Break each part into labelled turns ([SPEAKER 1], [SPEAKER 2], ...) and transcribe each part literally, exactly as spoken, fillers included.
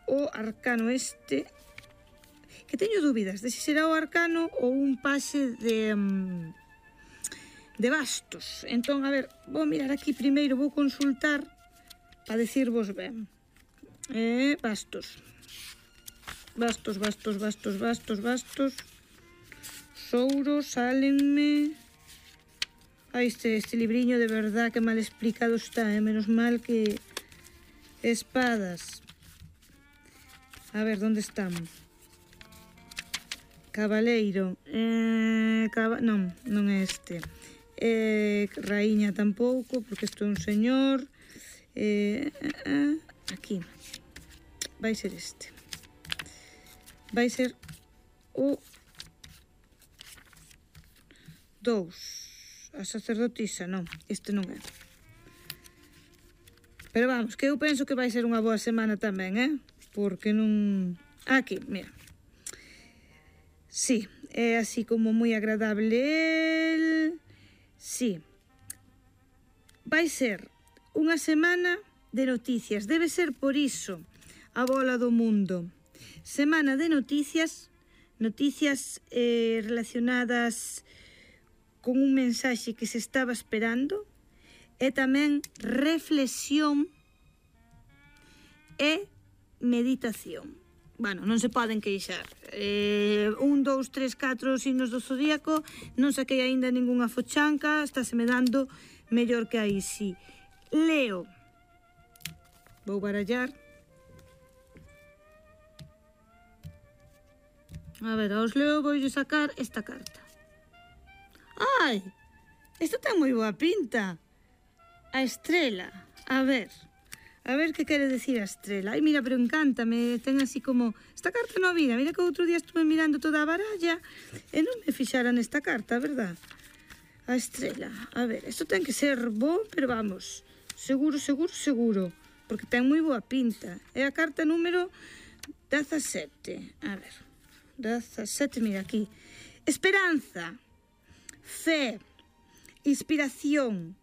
[SPEAKER 1] o arcano este, que teño dúbidas de se será o arcano ou un pase de um, de bastos. Entón, a ver, vou mirar aquí primeiro, vou consultar para decirvos ben. Eh, bastos. Bastos, bastos, bastos, bastos, bastos. Souros, sálenme. Ai, este, este libriño de verdad que mal explicado está, eh? Menos mal que... Espadas. A ver, onde estamos? Cabaleiro. Eh, caba... Non, non é este. Eh, raíña tampouco, porque isto é un señor. Eh, eh, eh, aquí. Vai ser este. Vai ser o dous. A sacerdotisa, non. Este non é. Pero vamos, que eu penso que vai ser unha boa semana tamén, eh? Porque non... Aquí, mira. Sí, é así como moi agradable el... Sí. Vai ser unha semana de noticias. Debe ser por iso a bola do mundo. Semana de noticias, noticias eh, relacionadas con un mensaxe que se estaba esperando, e tamén reflexión e meditación. Bueno, non se poden queixar. Eh, un, dous, tres, catro signos do zodíaco, non saquei aínda ningunha fochanca, estáse me dando mellor que aí, sí. Leo. Vou barallar. A ver, aos Leo vou sacar esta carta. Ai, esta ten moi boa pinta. A estrela, a ver, a ver que quere decir a estrela. Ai, mira, pero encántame, ten así como... Esta carta non vira, mira que outro día estuve mirando toda a baralla e non me fixara nesta carta, verdad? A estrela, a ver, isto ten que ser bo, pero vamos, seguro, seguro, seguro, porque ten moi boa pinta. É a carta número dezasete, a ver, dezasete, mira aquí. Esperanza, fe, inspiración,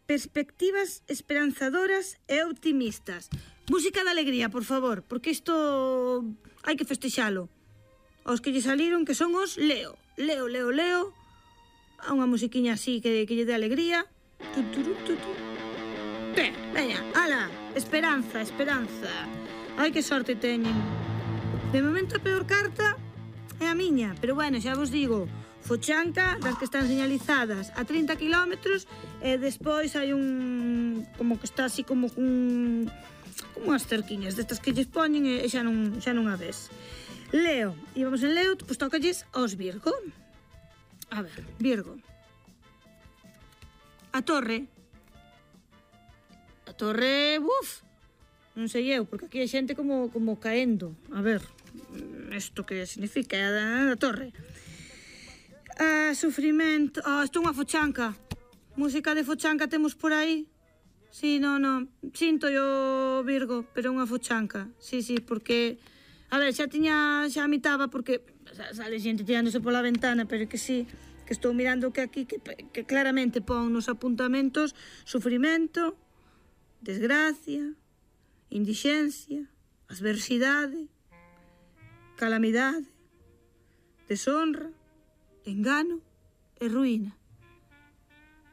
[SPEAKER 1] perspectivas esperanzadoras e optimistas. Música de alegría, por favor, porque isto hai que festexalo. Os que lle saliron que son os Leo. Leo, Leo, Leo. A unha musiquiña así que, que lle dé alegría. Tu, tu, tu, tu. Ben, veña, ala, esperanza, esperanza. Ai, que sorte teñen. De momento a peor carta é a miña, pero bueno, xa vos digo, fochanca das que están señalizadas a trinta kilómetros e despois hai un... como que está así como un... como unhas cerquiñas destas que lles poñen e xa non, xa non a ves. Leo, e vamos en Leo, pois tócalles aos Virgo. A ver, Virgo. A torre. A torre, uf, non sei eu, porque aquí hai xente como, como caendo. A ver, isto que significa a, a torre. Ah, sufrimento. Ah, isto é unha fochanca. Música de fochanca temos por aí? Sí, non, non. Sinto yo, Virgo, pero é unha fochanca. Sí, sí, porque... A ver, xa tiña... Xa mitaba porque... Sale xente tirándose pola ventana, pero que sí, que estou mirando que aquí, que, que claramente pon nos apuntamentos sufrimento, desgracia, indixencia, adversidade, calamidade, deshonra, engano e ruína.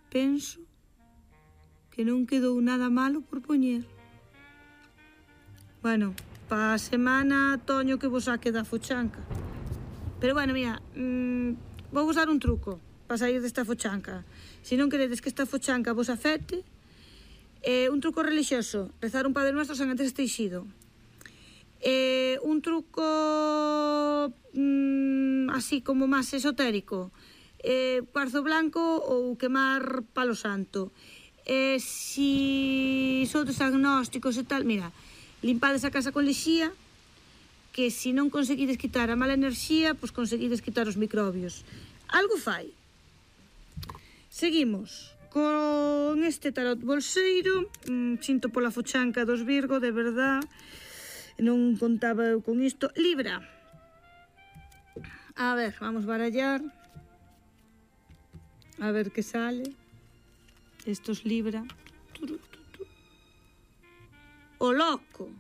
[SPEAKER 1] Penso que non quedou nada malo por poñer. Bueno, pa semana toño que vos saque da fochanca. Pero bueno, mira, mmm, vou vos dar un truco para sair desta fochanca. Se non queredes que esta fochanca vos afecte, eh, un truco religioso, rezar un Padre Nuestro San Antes Teixido. Eh, un truco mmm, así como máis esotérico, eh, cuarzo blanco ou quemar palo santo. Eh, si sodes agnósticos e tal, mira, limpades a casa con lexía, que se non conseguides quitar a mala enerxía, pois conseguides quitar os microbios. Algo fai. Seguimos con este tarot bolseiro. mm, Sinto pola fochanca dos Virgo, de verdad. Non contaba eu con isto. Libra. A ver, vamos barallar. A ver que sale. Estos Libra. O loco.